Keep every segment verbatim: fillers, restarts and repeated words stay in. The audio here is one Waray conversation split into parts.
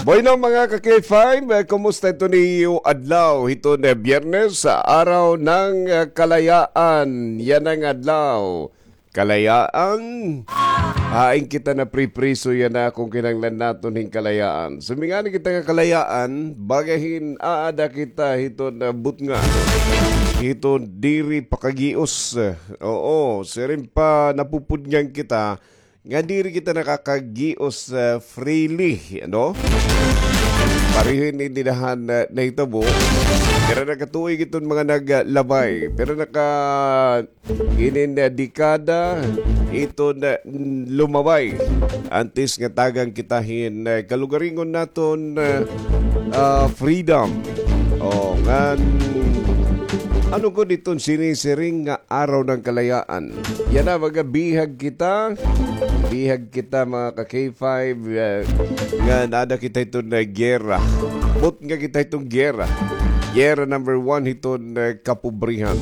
Bueno, mga ka-K five, eh, kumusta ito niyo adlaw? Hiton, eh, Biyernes, sa araw ng, eh, kalayaan. Yana nga adlaw. Kalayaan. Hain kita napripriso yana kon kinahanglan naton hin kalayaan. Sumingani kita nga kalayaan, baga hin aada kita hiton, eh, butnga. Hiton diri pakagios. Oo, siring pa napupudngan kita, nga diri kita nakakagios, ah, freely, ano? Pareho ini dinahan na nahitabo. Pero nakatuig iton mga naglabay. Pero naka inin, ah, dekada, iton, ah, lumabay. Antes nga tagan kita hin, ah, kalugaringon naton, ah, ah, freedom. O, ngan, ano gud iton sinisiring nga araw ng kalayaan? Yana, mga bihag kita. Bihag kita, mga ka-K five, eh, nga nada kita hiton, eh, giyera. Butnga kita hiton giyera. Giyera number one hiton, eh, kapobrihan.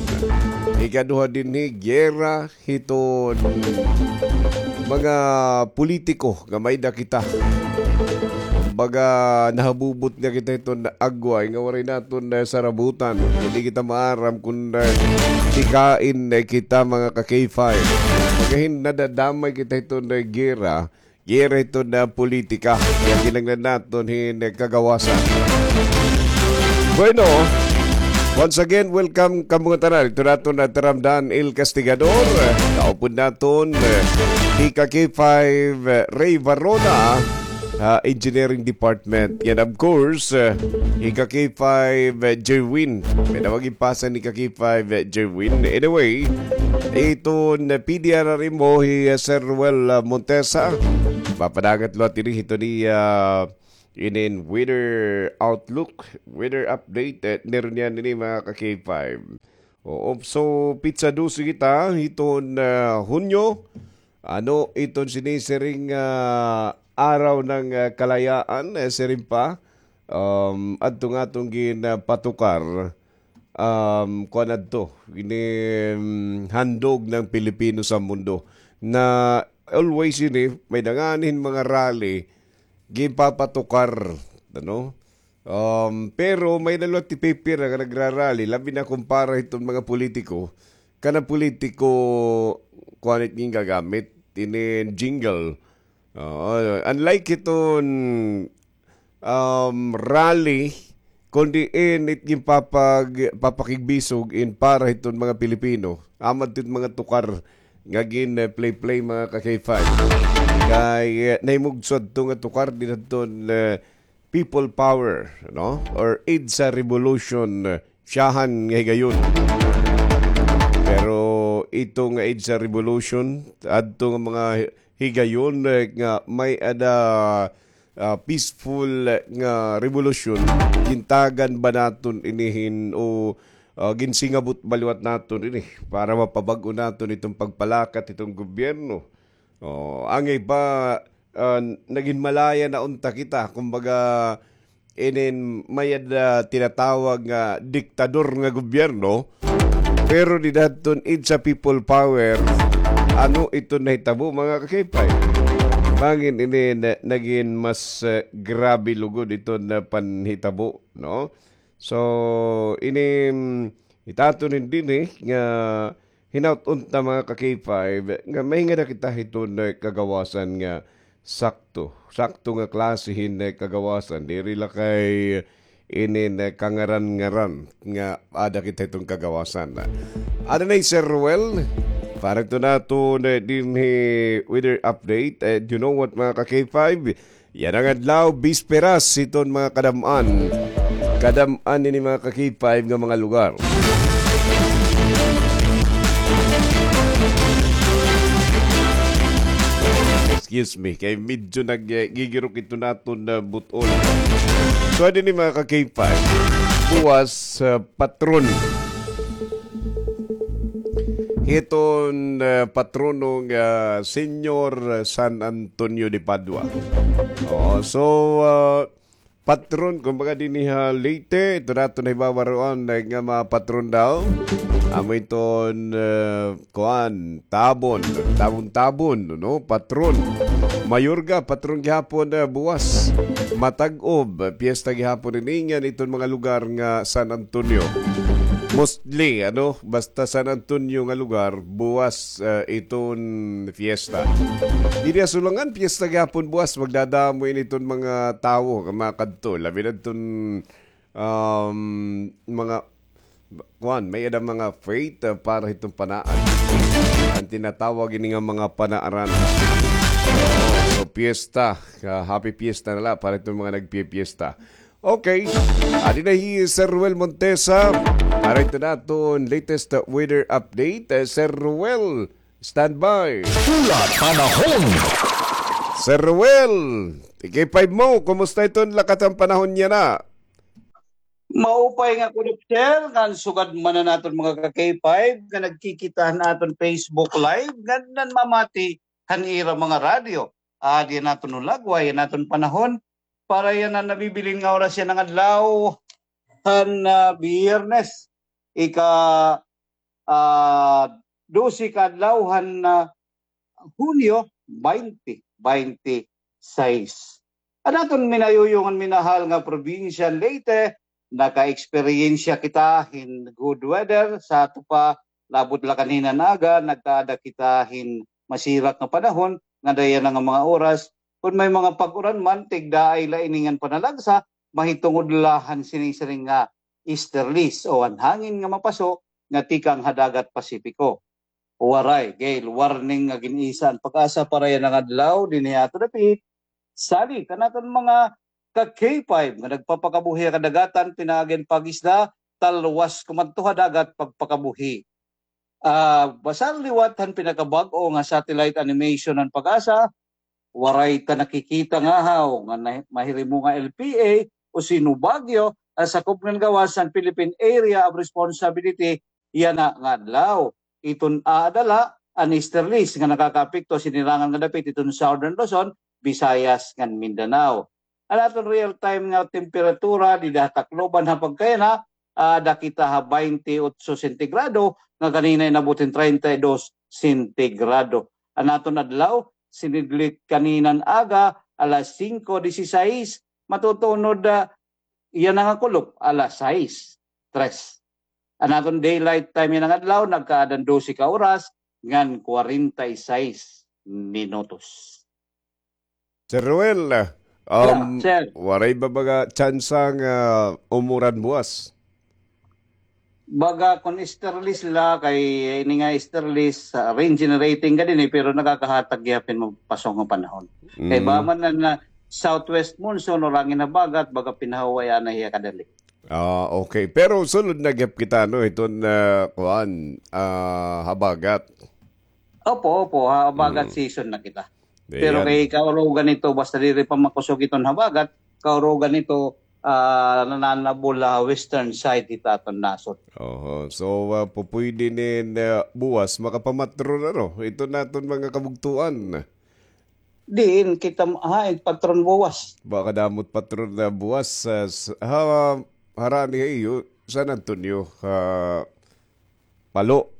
Ikaduha dinhi, giyera hiton mga politiko nga may-ada kita. Baga nahabubot nga kita hiton agway nga waray naton, eh, sarabutan. Diri kita maaram kon, eh, tikain, eh, kita, mga ka-K five. Baga hin nadadamay kita hiton, eh, giyera. Giyera hiton, ah, politika. Kaya kinahanglan naton hin, eh, kagawasan. Bueno, once again, welcome kamo ngatanan. Ito naton na taramdan, El Castigador. Kaupod naton, eh, ika K five, eh, Ray Varona, ah, Engineering Department. And of course, eh, ika K five, eh, Jerwin. May nawag ipasa ni ka K five, eh, Jerwin. Anyway, iton, eh, P D R R M O, hi, eh, Sir Ruel, ah, Montesa. Mapadangat liwat ini hiton iya, ah, inin weather outlook, weather update, eh, niron niyan ini, mga ka-K five. Oo, so, pitsa dose kita, hiton, ah, Hunyo. Ano iton sinisiring, ah, araw ng, ah, kalayaan, eh, siring pa? Um, adto nga aton gin, ah, patukar. Um, kuan adto, ini, um, handog ng Pilipino sa mundo. Na always ini, may danganin mga rally, gipapatukar, ano? Um, pero may-ada liwat tipipira nga nagrarally, labi na kumpara hiton mga politiko, kana politiko, kuan it gingagamit, ini jingle. Oo, unlike hiton, um, rally, kundi init ginpapag-, papakigbisog in para hiton mga Pilipino. Amo adto it mga tukar nga gin, eh, play-play, mga ka-K five. Kay, eh, nahimugso adto nga tukar dinadton, eh, people power, no? Or EDSA revolution, eh, siyahan nga higayon. Pero ito nga EDSA revolution, adto nga mga higayon, eh, nga may-ada, ah, peaceful nga revolution, gintagan ba naton ini hin o, ah, ginsingabot ba liwat naton ini para mapabag-o naton iton pagpalakat hiton gobyerno? O, angay pa, ah, nagin malaya na unta kita, kumbaga, inin may-ada tinatawag nga diktador nga gobyerno, pero dida hadton EDSA people power, ano iton nahitabo, mga ka-K five? Bangin ini na, nagin mas, eh, grabe lugod iton panhitabo, no? So, ini, mm, it aton dinhi nga hinaut unta, mga ka-K five, nga mahingada kita hiton, eh, kagawasan nga sakto. Sakto nga klase hin, eh, kagawasan. Diri la kay inin, eh, kangaran-ngaran nga aada kita hiton kagawasan. Ada na hi Sir Ruel, para ito naton, eh, dinhi weather update. Eh, you know what, mga ka-K five? Yana nga adlaw, bisperas hiton mga kadam-an. Kadam-an ini, mga ka-K five, nga mga lugar. Excuse me, kay medyo nag-, eh, gigirok ito naton na butol. So, ano ni, mga ka-K five? Buwas, ah, patron. Hiton, ah, patrono nga Señor San Antonio de Padua. Oo, so, ah, patron, kumbaga, dinhi ha Leyte, ito naton nahibabaroan, eh, nga mga patron daw. Amo iton, eh, kuan, tabon, tabon-tabon, no? Patron. Mayorga, patron gihapon, ah, buwas. Matag-ob, piyesta gihapon ini ngan iton mga lugar nga San Antonio. Mostly, ano, basta San Antonio nga lugar, buwas, ah, iton piyesta. Diri ha Sulangan, piyesta gihapon buwas, magdadamo ini iton mga tawo nga makadto. Labi na iton, um, mga kuan, may-ada mga faith, ah, para hiton panaan. An tinatawag ini nga mga panaaran. So, piyesta, ah, happy piyesta na la para hiton mga nagpipiyesta. Okay. Adi na hi Sir Ruel Montesa para hiton aton latest, ah, weather update. Ah, Sir Ruel, standby. Pula Panahon. Sir Ruel, K five mo, kumusta iton lakat han panahon yana? Maupay nga kulop, sir, ngan sugad man an aton mga ka-K five nga nagkikita han aton Facebook Live ngan nanmamati han ira mga radyo. Adi an aton hulagway, an aton panahon para yana nabibilin nga oras yana nga adlaw han, ah, Biyernes, ika, ah, dose ka adlaw han, ah, Hunyo twenty twenty-six. An aton minayuyong ngan minahal nga probinsya han Leyte, naka-eksperyensya kita hin good weather sa ato pa, labot la kanina nga aga, nagkaada kita hin masirak nga panahon, ngada yana nga mga oras, kon may mga pag-uran man, tigdaay la ini ngan panalagsa, mahitungod la han sinisiring nga easterlies o an hangin nga mapaso nga tikang ha dagat Pasipiko. Waray gale warning nga gin-isa an PAGASA para yana nga adlaw dinhi ha aton dapit. Salig kan aton mga ka-K five nga nagpapakabuhi ha kadagatan, pinaagi an pag-isda, talwas kumadto ha dagat pagpakabuhi. Ah, basar liwat han pinakabag-o nga satellite animation han PAGASA, waray ta nakikita nga haw nga na-, mahirimo nga L P A o Sino Baguio an sakop ngan gawas han Philippine Area of Responsibility yana nga adlaw. Iton aada la an easterlies nga nakakaapekto ha sinirangan nga dapit hiton Southern Luzon, Visayas ngan Mindanao. An aton real-time nga temperatura dida ha Tacloban ha pagkayana, ah, aada kita ha twenty-eight sentigrado, nga kanina inabot hin treinta y dos sentigrado. An aton adlaw, sinidlit kanina nga aga, alas singko disisais, matutunod, ah, yana nga kulop, alas sais tres. An aton daylight time yana nga adlaw, nagkaada hin dose ka oras ngan kwarenta y sais minutos. Sir Ruel, um, sir, waray ba baga tsansa nga umuran buwas? Baga kon easterlies la, kay ini nga easterlies, ah, rain generating ka dinhi, pero nakakahatag gihapon hin mapaso nga panahon. Kay ba man na, na southwest monsoon o hangin habagat, baga pinahuway na hiya kadali. Ah, okay. Pero sulod na gihap kita, no, hiton, ah, kuan, ah, habagat. Opo, opo, habagat season na kita. Pero kay kaurugan hito, basta diri pa makusog iton habagat, kaurugan hito, ah, nananabol ha western side hit aton nasod. Oho. So, ah, pupuydi nin, ah, buwas makapamatron, ano, iton aton mga kabugtoan. Diin kita, ha, patron buwas. Baka damo it patron nga buwas, ah, s-, ha, harani ha iyo, San Antonio, ha, Palo.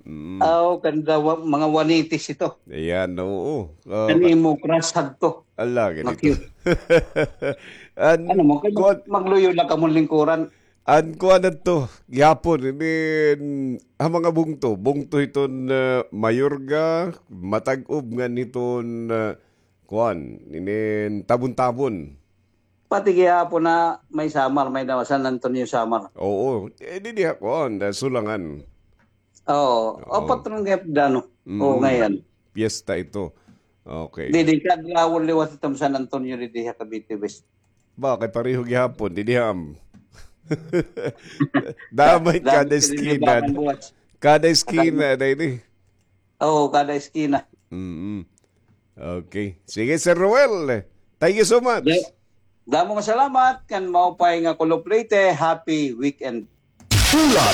Mm. Aw, kanda wa-, mga wanitis ito. Ayan, oo. Ah, kan imo crush hadto. Ala, ganito. An, ano mo, kay kuan, magluyo la kamo lingkuran. An kuan adto, gihapon, ini, ha mga bungto. Bungto hiton, ah, Mayorga, Matag-ob ngan hiton, ah, kuan, inin Tabon-Tabon. Pati gihapon na may Samar, may daw San Antonio Samar. Oo. Eh, didi ha kuan, da Sulangan. Oo. Oo. O, patron gihap dano. Mm. Oo, ngayon. Piyesta ito. Okay. Didi, kadlawon liwat iton San Antonio, didi ha Cavite West. Ba, kay pareho gihapon, didi ham. Damay kada eskina. Kada eskina, didi. Oo, kada eskina. Mm-mm. Okay. Sige, Sir Ruel. Thank you so much. Da-, damo nga salamat, kan maupay nga Kulop Leyte. Happy weekend. Pula